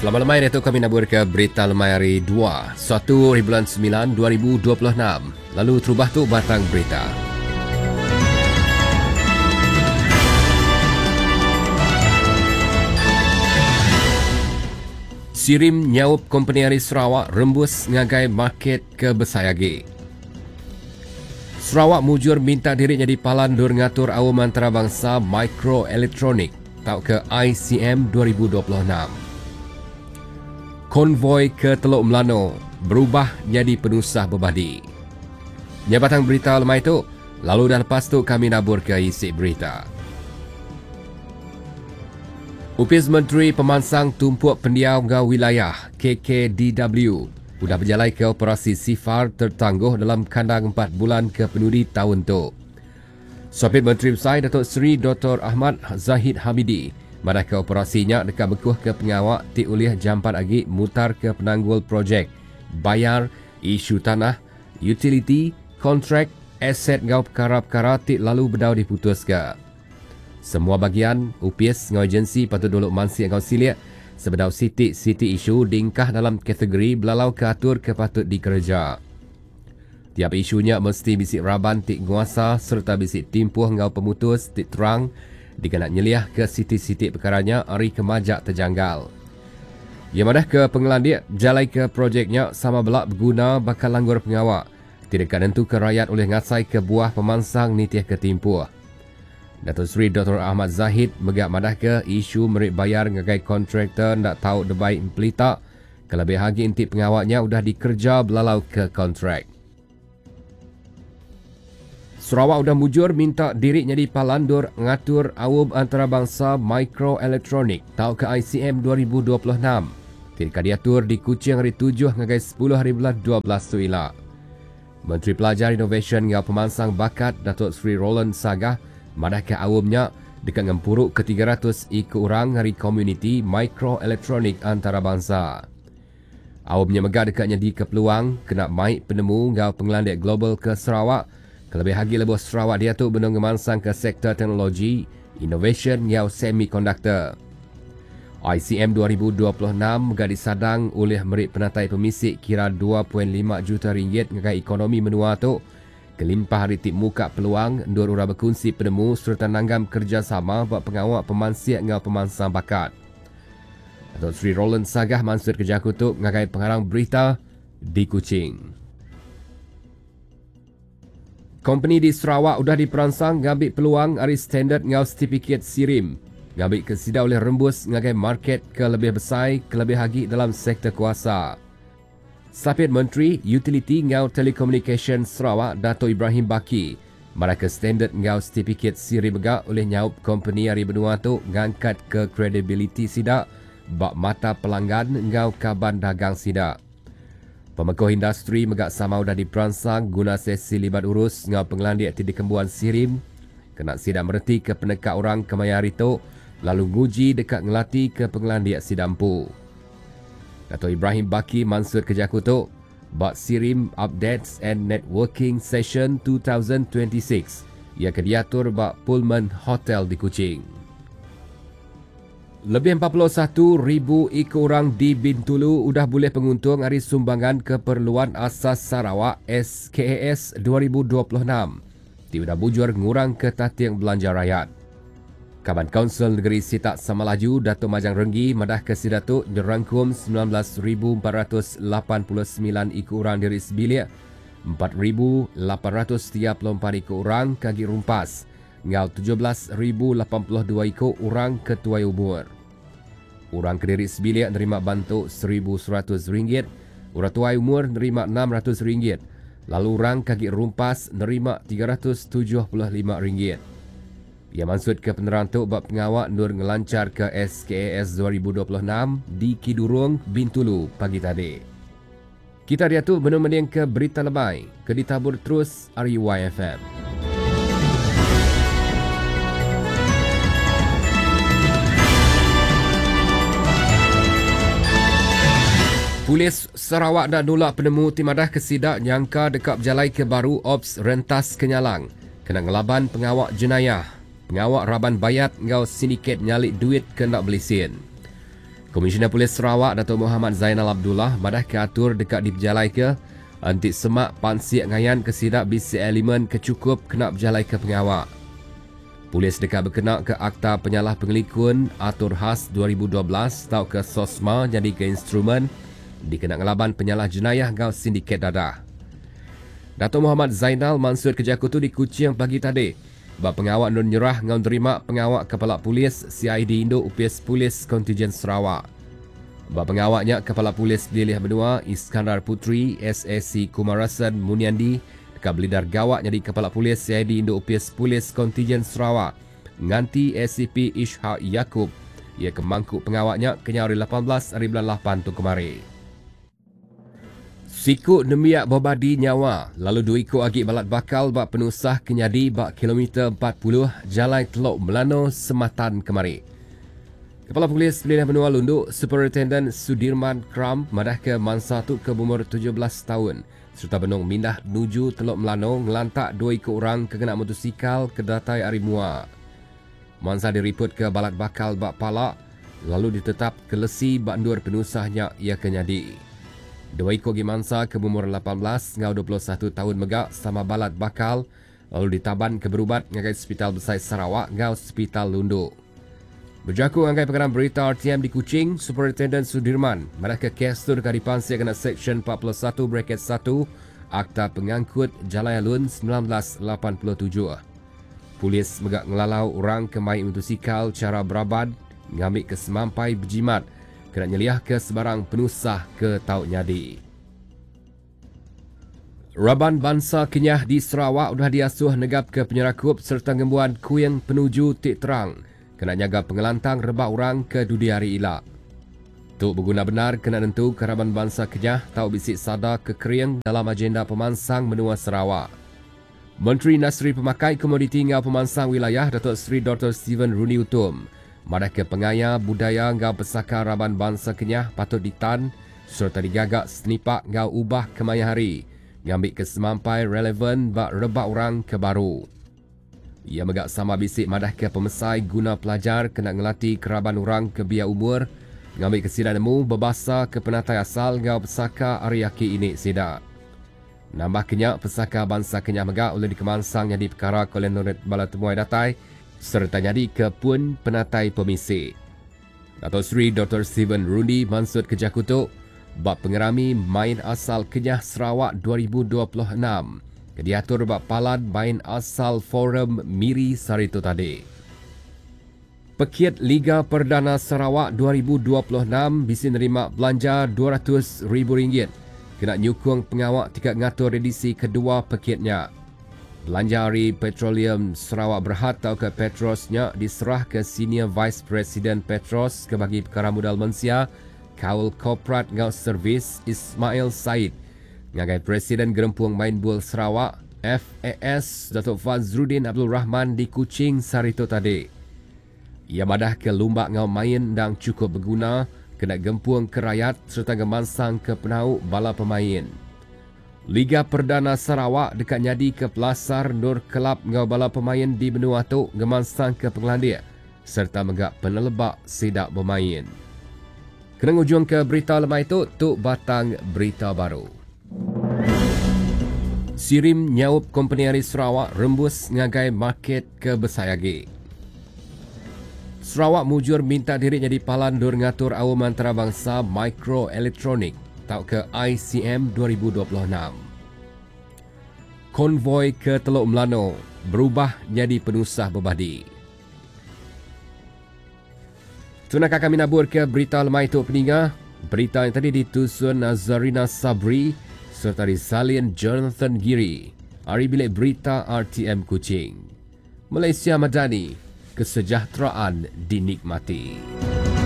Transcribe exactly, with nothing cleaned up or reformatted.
Selamat lemai itu kami nabur ke berita lemai hari dua, satu bulan sembilan dua ribu dua puluh enam. Lalu terubah tu batang berita. Sirim nyaup kompeni hari Sarawak rembus ngagai market ke besai lagi. Sarawak mujur minta diri jadi palan dur ngatur awam antarabangsa mikroelektronik tau ke I C M dua ribu dua puluh enam. Konvoi ke Teluk Melano berubah jadi penusah berbadi. Nyabatang berita lemai tu, lalu dah lepas tu kami nabur ke isi berita. Upis Menteri Pemansang Tumpuk Pendiau Ngau Wilayah K K D W sudah berjalan ke operasi sifar tertangguh dalam kandang empat bulan ke penudi tahun tu. Sapit Menteri Besar Datuk Seri Doktor Ahmad Zahid Hamidi madah ke operasinya dekat bekuh ke pengawak ti ulih jampat lagi mutar ke penanggul projek, bayar, isu tanah, utility, kontrak, aset ngau perkara-perkara ti lalu bedau diputus ke. Semua bagian, U P S ngau agensi patut dulu mansi ngau siliak sebedau siti-siti isu dingkah dalam kategori belalau ke atur ke patut dikerja. Tiap isunya mesti bisik raban ti nguasa serta bisik timpuh ngau pemutus ti terang dikena nyeliah ke siti-siti perkaranya ari kemajak terjanggal. Ia madah ke pengelandik jalai ke projeknya sama belak berguna bakal langgur pengawak. Tidak tentu ke rakyat oleh ngasai ke buah pemansang nitih ke timpuh. Datuk Seri Doktor Ahmad Zahid megak madah ke isu merik bayar ngagai kontraktor ndak tahu debai pelita kelebih hagi inti pengawaknya udah dikerja belalau ke kontrak. Sarawak udah mujur minta diri jadi palandur ngatur awam antarabangsa mikroelektronik tau ke I C M dua ribu dua puluh enam. Tidak diatur di Kuching hari tujuh ngagai sepuluh hari bulan dua belas tu ila. Menteri Pelajar Inovasi ngau Pemansang Bakat Datuk Seri Roland Sagah madah ke awamnya dekat ngempuruk ke tiga ratus ikut orang hari komuniti mikroelektronik antarabangsa. Awamnya megah dekatnya di kepeluang kena maik penemu ngau pengelandik global ke Sarawak. Kelebih lagi lebuh Sarawak dia tu benung ngemansang ke sektor teknologi, innovation ngau semiconductor. I C M dua ribu dua puluh enam megah disadang oleh merik penatai pemisik kira dua perpuluhan lima juta ringgit ngagai ekonomi menua tu. Kelimpah hari ti muka peluang ndur ura berkongsi penemu serta nanggam kerjasama buat pengawak pemansiak ngau pemansang bakat. Datuk Seri Roland Sagah mansur kerja kutuk ngagai pengarang berita di Kuching. Kompeni di Sarawak udah diperansang ngambil peluang ari standard ngau sertifikat SIRIM. Ngambil ke sida oleh rembus ngagai market ke lebih besar, ke lebih hagi dalam sektor kuasa. Sapit Menteri Utility ngau Telekomunikasi Sarawak Dato' Ibrahim Baki mereka standard ngau sertifikat SIRIM megak oleh nyaup kompeni ari benua tu ngangkat ke credibility sida bak mata pelanggan ngau kaban dagang sida. Pemekoh industri megak sama udah diperansang guna sesi libat urus ngau pengelandik ti dikembuan SIRIM kena sida mereti ke penekak orang kemaya hari tu lalu nguji dekat ngelati ke pengelandik sidampu. Dato' Ibrahim Baki mansur kerja kutuk bak SIRIM Updates and Networking Session dua ribu dua puluh enam ia kediatur bak Pullman Hotel di Kuching. Lebih empat puluh satu ribu ikut orang di Bintulu udah boleh penguntung hari sumbangan keperluan asas Sarawak S K A S dua ribu dua puluh enam. Ti udah bujur ngurang ke tatiang belanja rakyat. Kaban Kaunsil Negeri Sitak Samalaju Datuk Majang Renggi madah ke Sidatuk nyerangkum sembilan belas ribu empat ratus lapan puluh sembilan ikut orang diri sebilik, empat ribu lapan ratus tiga puluh empat ikut orang kaki rumpas, ngau tujuh belas ribu lapan puluh dua ikut orang ketuai umur. Orang kediri sebilik nerima bantu seribu seratus ringgit, orang tuai umur nerima enam ratus ringgit, lalu orang kaki rumpas nerima tiga ratus tujuh puluh lima ringgit. Ia maksud ke penerang tu bab pengawak nur ngelancar ke S K A S dua ribu dua puluh enam di Kidurong, Bintulu pagi tadi. Kita dia tu benar-benar ke berita lebay, ke ditabur terus R U Y F M. Polis Sarawak dah nolak penemu timadah kesidak nyangka dekat berjalai ke baru Ops Rentas Kenyalang. Kena ngelaban pengawak jenayah, pengawak raban bayat ngau sindiket nyalik duit ke nak beli sin. Komisioner Polis Sarawak Dato' Muhammad Zainal Abdullah madah ke atur dekat diberjalai ke anti semak pansiak ngayan ke sidak bisi elemen kecukup kena berjalai ke pengawak. Polis dekat berkena ke Akta Penyalah Pengelikun Atur Khas dua ribu dua belas atau ke SOSMA jadi ke instrumen dikena ngelaban penyalah jenayah ngau sindiket dadah. Dato' Muhammad Zainal Mansur Kejaku tu di Kuching pagi tadi. Ba pengawak nun nyerah ngau nerima pengawak Kepala Polis C I D Induk Upis Polis Kontijen Sarawak. Ba pengawaknya Kepala Polis Lilih Benua Iskandar Puteri S A C Kumarasan Muniandi dekat belidar gawak jadi Kepala Polis C I D Induk Upis Polis Kontijen Sarawak nganti A C P Ishak Yaakob ia kemangku pengawaknya kenya hari lapan belas hari bulan lapan tu kemari. Siku nemiak bobadi nyawa lalu dua ikut agi balat bakal bak penusah kenyadi bak kilometer empat puluh Jalai Telok Melano Sematan kemari. Kepala Polis Pelilih Benua Lundu Superintendent Sudirman Kram madah ke mangsa tu ke umur tujuh belas tahun serta benung mindah nuju Telok Melano ngelantak dua ikut orang ke kena motosikal ke datai ari mua. Mangsa diriput ke balat bakal bak palak lalu ditetap ke lesi bak ndur penusahnya ia kenyadi. Dua ikut gi mangsa ke umur lapan belas ngau dua puluh satu tahun megak sama balat bakal lalu ditaban ke berubat ngagai Hospital Besar Sarawak ngau Hospital Lundu. Berjaku ngagai pengarang berita R T M di Kuching, Superintendent Sudirman madah ke kes tu dekat dipansik kena Seksyen empat puluh satu bracket satu Akta Pengangkut Jalai Alun sembilan belas lapan puluh tujuh. Polis megak ngelalau orang ke main motosikal cara beraban ngambil ke semampai berjimat kena nyeliah ke sebarang penusah ke tau nyadi. Raban Bansa Kenyah di Sarawak sudah diasuh negap ke penyerakup serta ngembuan kuing penuju tik terang kena nyaga pengelantang rebak orang ke dudi hari ilak. Tu berguna benar kena nentu ke Raban Bansa Kenyah tau bisik sada ke kering dalam agenda pemansang menua Sarawak. Menteri Industri Pemakai Komoditi ngau Pemansang Wilayah Datuk Seri Doktor Stephen Rundi Utom madah ke pengaya budaya ngau pesaka Raban Bansa Kenyah patut ditan serta digagak senipak ngau ubah kemaya hari ngambil ke semampai relevan bak rebak orang ke baru. Ia megak sama bisik madah ke pemesai guna pelajar kena ngelati keraban orang ke biar umur ngambil ke sida nemu berbahasa ke penatai asal ngau pesaka ariaki ini sida. Nambah kenyak pesaka bangsa Kenyah megak oleh dikemansang jadi perkara kolenoret bala temuai datai serta jadi ke pun penatai pemisi. Datuk Seri Doktor Stephen Rundi Mansud Kejakutuk bab pengerami main asal Kenyah Sarawak dua ribu dua puluh enam. Diatur bab palan main asal Forum Miri Sarito tadi. Pekiat Liga Perdana Sarawak dua ribu dua puluh enam bisa nerima belanja dua ratus ribu ringgit kena nyukung pengawak tingkat ngatur edisi kedua pekiatnya. Belanja hari Petroleum Sarawak Berhad atau ke Petrosnya diserah ke Senior Vice President Petros ke bagi perkara modal manusia Kaul Korporat ngau Servis Ismail Said ngagai Presiden Gerempung Main Bul Sarawak F A S Datuk Fazruddin Abdul Rahman di Kuching Sarito tadi. Ia madah ke lumbak ngau main dang cukup berguna kena gempung ke rakyat serta gemansang ke penau bala pemain. Liga Perdana Sarawak dekat nyadi ke Pelasar Nur Kelab ngau bala pemain di benua tu gemansang ke pengelandik serta megak penelebak sidak bermain. Kena ngujung ke berita lemai tu, tu batang berita baru. Sirim nyaup kompeni hari Sarawak rembus ngagai market ke Besayagi. Sarawak mujur minta diri jadi palan dur ngatur awam antarabangsa mikroelektronik tau ke I C M dua ribu dua puluh enam. Konvoi ke Teluk Melano berubah jadi penusah berbadi. Tunakah kami nabur ke berita lemai tu peninga? Berita yang tadi ditusun Nazarina Sabri serta disalin Jonathan Giri. Hari bilik berita R T M Kuching. Malaysia Madani, kesejahteraan dinikmati.